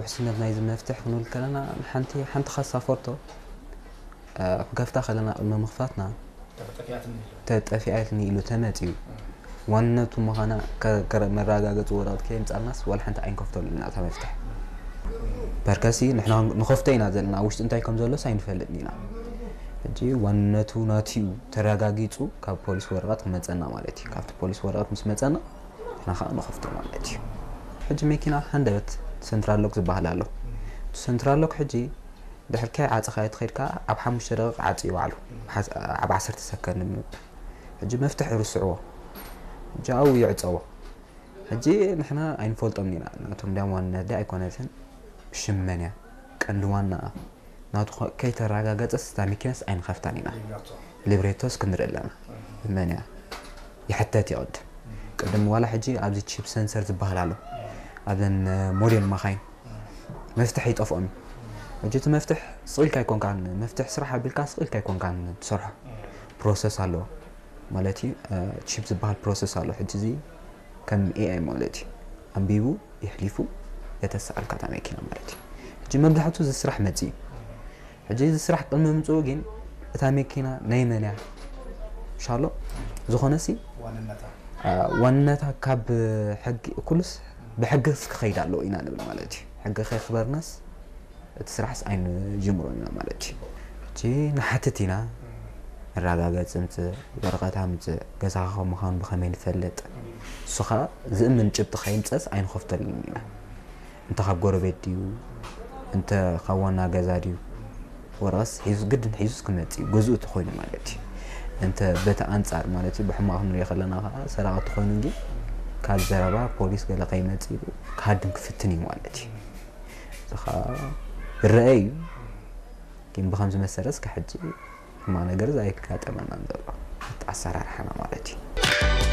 ውስነት ናይዚ መፍትሕ ክንብል ከለና፣ ሓንቲ ሓንቲ ካሳ ፎርቶ ክከፍታ ከለና፣ ቅድሚ ምኽፋትና ተጠፊኣትኒ ኢሉ ተጠፊኣትኒ ኢሉ ተመፅዩ፣ ዋንነቱ ምዃና መረጋገፂ ወረቐት ከየምፃልናስ ዋላ ሓንቲ ኣይንከፍተሉ ኢና እታ መፍትሕ። ፐርከሲ ንሕና ንኸፍቶ ኢና ዘለና፣ ኣብ ውሽጢ እንታይ ከም ዘሎስ ኣይንፈልጥን ኢና። ሕጂ ዋንነቱ ናትዩ ተረጋጊፁ ካብ ፖሊስ ወረቐት ክመፀና ማለት እዩ። ካብቲ ፖሊስ ወረቐት ምስ መፀና ንሕና ከዓ ንኸፍቶ ማለት እዩ። ሕጂ መኪና ሃንደበት ሰንትራል ሎክ ዝበሃል ኣሎ። እቲ ሰንትራል ሎክ ሕጂ ድሕር ከይዓፀኻዮ ተኸይድካ ኣብ ሓሙሽተ ደቂቕ ዓፅዩ ባዕሉ፣ ኣብ ዓሰርተ ሰከንድ ንምባል። ሕጂ መፍትሕ ይርስዕዎ። ሕጂ ኣብኡ ይዕፀዎ። ሕጂ ንሕና ኣይንፈልጦም ኢና። ናቶም ድያም ዋንነት ድያ ኣይኮነትን፣ ሽመን እያ ቀንዲ ዋናኣ። ናቱ ከ- ከይተረጋገፀስ እታ መኪናስ ኣይንኸፍታን ኢና። ሊብረቶ ሊብሬቶስ ክንርኢ ኣለና። መን እያ ይሕተት ይቕድም። ቅድም ዋላ ሕጂ ኣብዚ ቺፕ ሰንሰር ዝበሃል ኣሎ ኣብዘን ሞዴል መኻይን መፍትሕ ይጠፍኦም እዩ። ሕጂ እቲ መፍትሕ ስቕ ኢልካ ኣይኮንካን፣ መፍትሕ ስራሕ ኣቢልካ ስቕ ኢልካ ኣይኮንካን ትሰርሖ። ፕሮሰስ ኣለዎ ማለት እዩ። ቺፕ ዝበሃል ፕሮሰስ ኣሎ። ሕጂ እዚ ከም ኤኣይ ማለት እዩ። ኣንቢቡ የሕሊፉ የተሰኣልካ እታ መኪና ማለት እዩ። ሕጂ መብዛሕቱ እዚ ስራሕ መፅእ እዩ። ሕጂ እዚ ስራሕ ቅድሚ ምምፅኡ ግን እታ መኪና ናይ መን እያ? ሻሎ ዝኾነ ሲ ዋንነታ ዋንነታ ካብ ሕጊ ኩሉስ ብሕጊ ክኸይድ ኣለዎ ኢና ንብል ማለት እዩ። ሕጊ ከይኽበርናስ እቲ ስራሕስ ኣይንጅምሮን ኢና ማለት እዩ። ሕጂ ንሓትት ኢና፣ መረጋገፂ ምፅእ፣ ወረቐት ኣምፅእ፣ ገዛኻ ከም ምዃኑ ብኸመይ ንፈልጥ? ንሱ ኸዓ ዝእምን ጭብጢ ከይምፀስ ኣይንኸፍተሉን ኢና። እንተ ካብ ጎረቤት ድዩ እንተ ካብ ዋና ገዛ ድዩ ወረቐስ ሒዙ ግድን ሒዙስ ክመፅእ እዩ፣ ገዝኡ ተኮይኑ ማለት እዩ። እንተ በቲ ኣንፃር ማለት እዩ ብሕማቕ ክንሪኦ ከለና ከዓ ሰራቒ ተኮይኑ ግን ካብ ዘረባ ፖሊስ ገለ ከይመፅእ ኢሉ ክሃድም ክፍትን እዩ ማለት እዩ። እዚ ከዓ ይረአ እዩ። ግን ብከምዚ መሰረት እስከ ሕጂ ሕማቕ ነገር ኣይጋጠመናን ዘሎ ኣሰራርሓና ማለት እዩ።